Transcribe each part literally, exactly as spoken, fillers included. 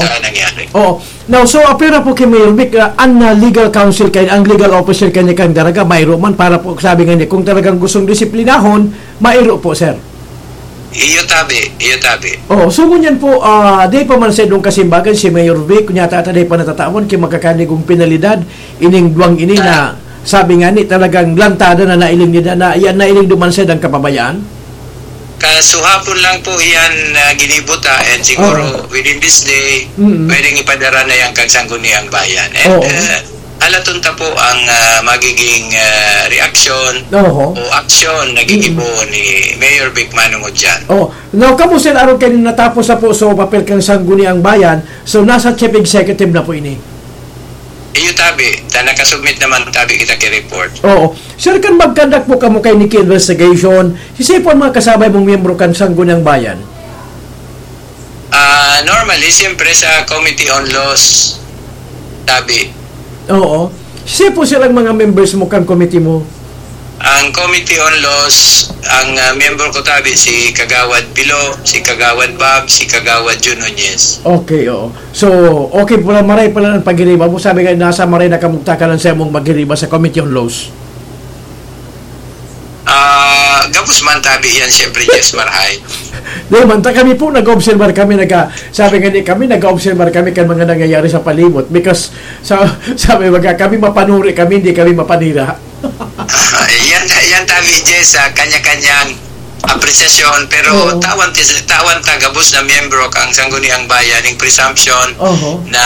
sa nangyari. Oo. Now, so, apira po kay Mayor Vic, ah, an, ah, legal counsel kay, ang legal officer kay ni Kang Daraga, mayro man para po, sabi nga niya, kung talagang gustong disiplinahon, mayro po, sir. Iyo tabi, iyo tabi. Oo, so ngunyan po, ah, di pa man sa idong kasimbagan si Mayor Vic, kunya tata di pa natatawan kay magkakanigong penalidad, ining duwang ini na, sabi nga ni, talagang lantada na nailing nila, na, yan nailing duman sa idang kababayaan. Kasuhapon lang po yan na ginibuta, and siguro Oo. within this day, Mm. pwedeng ipadara na yan kang Sangguniang Bayan. And, Oo. uh, alaton ta po ang, uh, magiging, uh, reaction Oho. o aksyon na Mm. gigibo ni Mayor Vic Manong Odian. Oh, now, kamo, sir, aron kay natapos na po sa papel kang Sangguniang Bayan, so nasa chief executive na po ini? Iyo tabi, ta nakasubmit naman tabi kita ki report. Oo. Sir, kan magkandak po kamo kay Niki investigation, sisay po ang mga kasabay mong miyembro kan Sangguniang Bayan? Ah, normally, siyempre sa Committee on Laws, tabi. Oo. Sisay po silang mga members mo kan committee mo? Ang Committee on Laws, ang, ah, member ko tabi si Kagawad Pilo, si Kagawad Bob, si Kagawad Jun Nunez. Okay, oo. So, okay pala, maray pala ang paghiriba mo. Sabi nga, nasa maray na kamugtakalan sa imong maghiriba sa Committee on Laws. Ah, gabos man tabi yan, siyempre, Jess, marahay. Di man, ta kami po, nag-obserbar kami, nag-, sabi nga ni kami, nag-obserbar kami kan mga nangyayari sa palibot. Because, sa, sabi, baga, kami mapanuri kami, hindi kami mapanira. Ah, yan, yan tabi, Jess, sa kanya-kanyang apresyasyon, pero Oo. tawan ti-, tawan ta gabos na miyembro kang Sangguniang Bayan, yung presumption Oho. na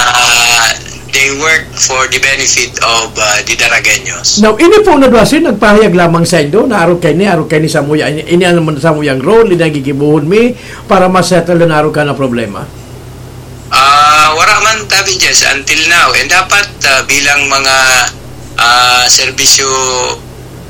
they work for the benefit of, uh, the Daragueños. Now, ini po na duwa, sir, nagpahayag lamang sa indo na arog kay ni, arog kay ni samuya, ini, ini naman samuyang role, ini ang gigibohon mi para ma-settle na arog ka na problema. Ah, wala man tabi, Jess, until now. And dapat, ah, bilang mga, ah, serbisyo,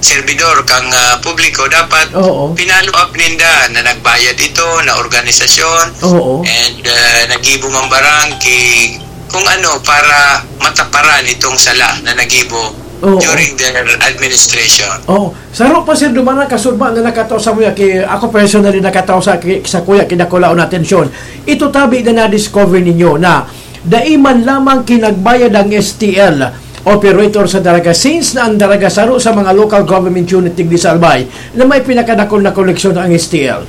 serbidor kang, ah, publiko, dapat Oo. pinalo up ninda na nagbayad ito na organisasyon Oo. and, ah, nagibo man barang ki-, kung ano, para mataparan itong sala na nagibo Oo. during their administration. Oo. Saro pa, sir, duman na kasudma na nakatao sa kuya ki, ako personally nakatao sa ki, sa kuya ki dakulaon na atensyon. Ito tabi na na-discover ninyo na dai man lamang kinagbayad ang S T L operator sa Daraga, since na ang Daraga saro sa mga local government unit digdi sa Albay na may pinakadakul na koleksyon ang S T L.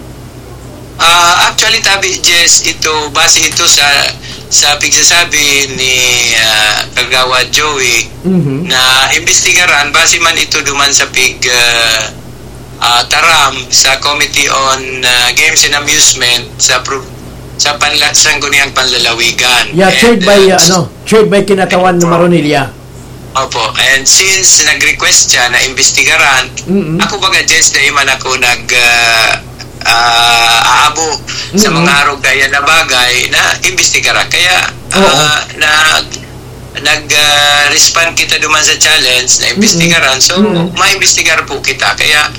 Ah, actually, tabi, Jess, ito, base ito sa, sa pigsasabi ni, ah, Kagawad Joey Mhm. na imbestigaran, base man ito duman sa pig, ah, ah, taram sa Committee on, ah, Games and Amusement sa pro-, sa panla-, Sangguniang Panlalawigan. Yeah, And, chaired by, uh, uh, ano, chaired by Kinatawan Opo. Maronilla. Opo. And since nag-request siya na imbestigaran, Mm-mm. ako baga, Jess, dai man ako nag, ah, ah, aabo sa Mm-mm. mga arog kaya na bagay na imbestigaran. Kaya, Oo. ah, nag-, nag, ah, respond kita duman sa challenge na imbestigaran. Mm-mm. So, Mm-mm. maimbestigar po kita. Kaya,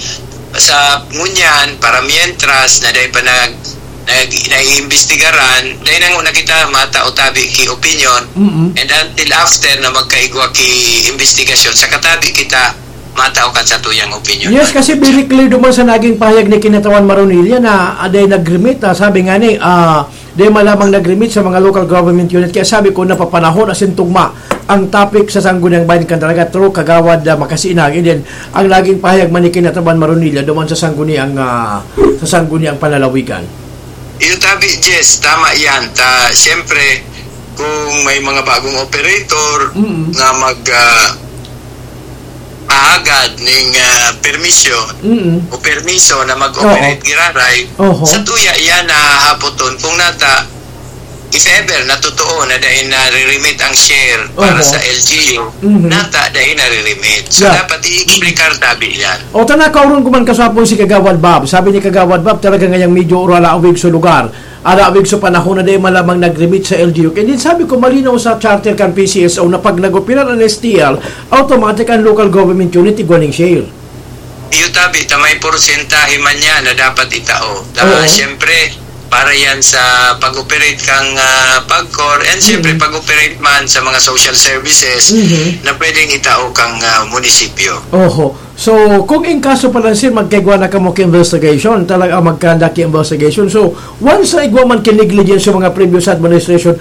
sa ngunyan, para mientras na dai pa nag-, nag-, naiimbestigaran, dai na nguna kita matao tabi ki opinion, Mm-mm. and until after na magkaigwa ki imbestigasyon, sa katabi kita matao kan satuyang opinion. Yes, kasi very clear duman sa naging pahayag ni Kinatawan Maronilla na, ah, dai nag-remit, ah, sabi nga ni, ah, dai man lamang nag-remit sa mga local government unit. Kaya sabi ko, napapanahon asin tugma ang topic sa Sangguniang Bayan kan Daraga through Kagawad, ah, Makasiinag. And then, ang naging pahayag man ni Kinatawan Maronilla duman sa Sangguniang, ah, sa Sangguniang Panlalawigan. Iyo tabi, Jess, tama yan. Ta, siyempre, kung may mga bagong operator Mm-mm. nga mag, ah, aagad ning, ah, permisyon Mm-mm. o permiso na mag-operate Oo. giraray, Oho. sa tuya iyan na hahapoton kung nata, if ever na totoo na dai na-remit ang share para Oho. sa L G U, Mhm. nata dai na-remit. So, Yeah. dapat i-explicar tabi yan. O, tana, kauron ko man kasapon si Kagawad Bob. Sabi ni Kagawad Bob, talaga ngayang medyo urala awig sa lugar. Alawig sa panahon na dai man lamang nag-remit sa L G U. Kaya din sabi ko, malinaw sa charter kan P C S O na pag nag-operar ang S T L, automatic ang local government unit igwa ning share. Iyo tabi, ta may porsentahe man niya na dapat itao. Ta, Oo. siyempre, para yan sa pag-operate kang, ah, pagcor, and siyempre, Mm. pag-operate man sa mga social services Mhm. na pwedeng itao kang, ah, munisipyo. Oho. So, kung in kaso pa lang, sir, magkaigwa na kamo ki investigation, talaga magkanda ki investigation. So, once na igwa man ki negligence sa mga previous administration,